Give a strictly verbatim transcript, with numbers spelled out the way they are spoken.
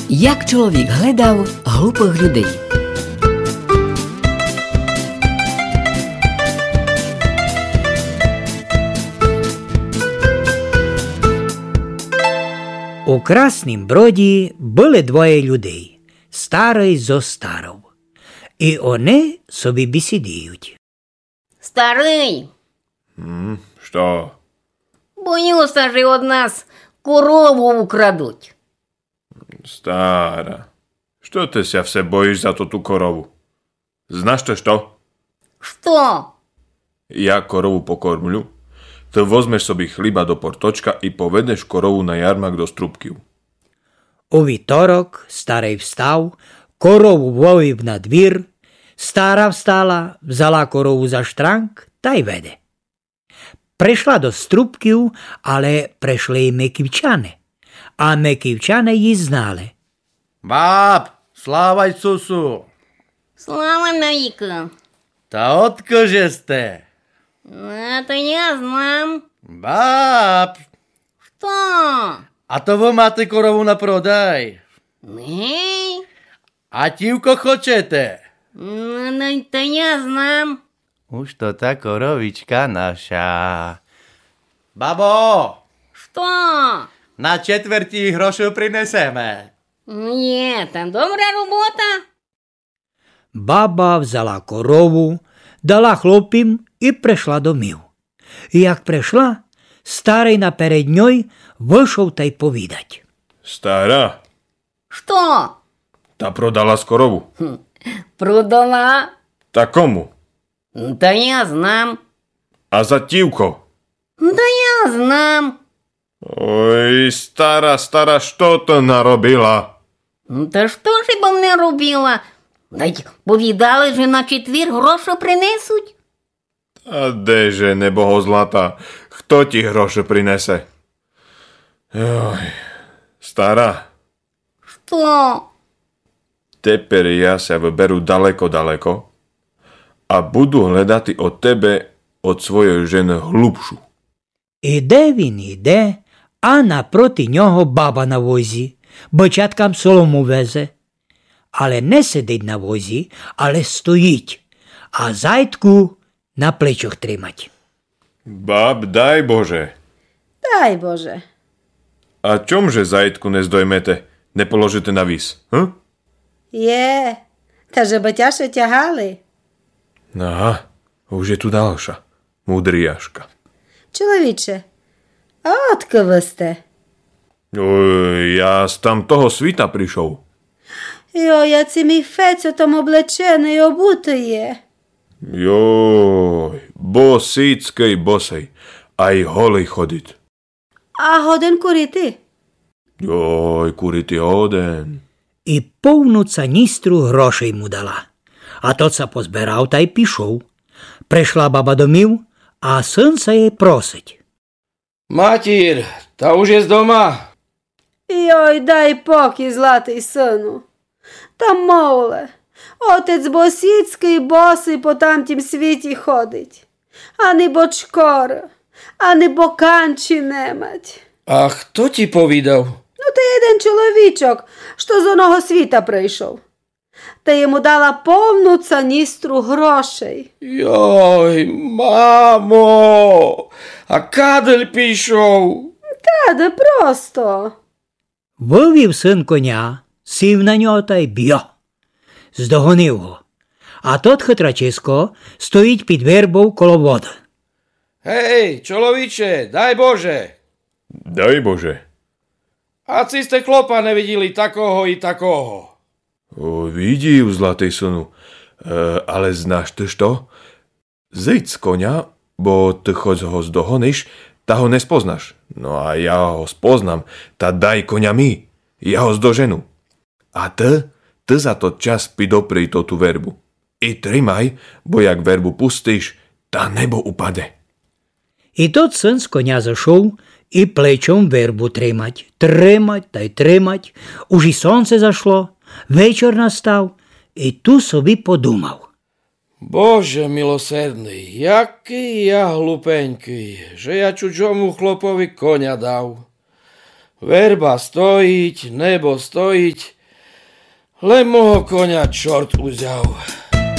Як чоловік гледав глупых людей. У Краснім Броді были двоє людей, старый зо старов. И они собі бісідують. Старый! М, што? Бою ся, же од нас корову украдуть. Стара, што ты ся все боїш за тоту корову? Знаш ты што? Што? Я корову покормлю, ты возмеш собі хліба до порточка и поведеш корову на ярмарк до Струбків. У вівторок старый встав, корову вывів на двір, стара встала, взяла корову за штранг тай веде. Пришла до Струбків, але пришли и Меківчане. А Меківчане її знали. Баб, слава Ісусу! Слава навікы! Та откы же сте? А то я знам. Баб! Што? А то вы мате корову на продай? Гей. А тівко хочете? Ну, ну, то я знам. Уж то та коровічка наша. Бабо! Што? На четверть ї грошы принесеме. Є, та добра робота. Баба взяла корову, дала хлопім и пришла домів. И як пришла, старый наперед ньой вышов тай повідать. Стара! Што? Та продала сь корову? Гм, продала. Та кому? Та я знам. А за тівко? Та я знам. Ой, стара, стара, што ты наробила? Та што ж я бым не робила? Ведь повідали, же на четвір грошы принесуть. Та де же, небого злата, хто ті грошы принесе? Ой, стара. Што? Тепер я ся выберу далеко-далеко а буду гледати од тебе, од своєй жены глупшу. Іде він, іде, а напроти нього баба на возі, бичаткам солому везе. Але не сидить на возі, але стоїть, а зайтку на плечох тримать. Баб, дай Боже. Дай Боже. А чом же зайтку не здоймете, не положите на віз, гм? Є, та же бы тяжче тягали. Ага, уж є ту далша, мудріяшка. Чоловіче, а одкы вы сте? Ой, я з тамтого світа пришов. Йо, яци мій Фецьо там облеченый, обутый є. Йой, босіцькый босый, ай голый ходить. А годен курити? Йой, курити годен. И повну цаністру грошей му дала. А тот ся позберав тай пішов. Пришла баба домів, а сын ся єй просить. Матір, та уж єс дома? Йой, дай покій, златый сыну. Та мовле, отець босіцькый босый по тамтім світі ходить. Ани бочкоры, ани боканчі не мать. А хто ті повідав? Ну, та єден чоловічок, што з оного світа прийшов. Та єму дала повну цаністру грошей. Йой, мамо, а кадель пішов? Таде просто. Вывів сын коня, сів на нього тай бьо. Здогонив го. А тот хитрачисько стоїть під вербов коло воды. Гей, чоловіче, дай Боже! Дай Боже! А ци сте хлопа не виділи такого и такого? О, видів, златый сыну. Е, але знаш ты што? Зыйдз з коня, бо ты хоц го здогониш, та го не спознаш. Но а я го спознам, та дай коня мі, я го здожену. А ты, ты за тот час підоприй тоту вербу. И тримай, бо як вербу пустиш, та небо упаде. И тот сын з коня зошов и плечом вербу тримать, тримать тай тримать, уж и сонце зашло, вечор настав, и ту собі подумав. Боже милосердный, якый я глупенькый, же я чужому хлопови коня дав. Верба стоїть, небо стоїть, Лем мого коня чорт узяв.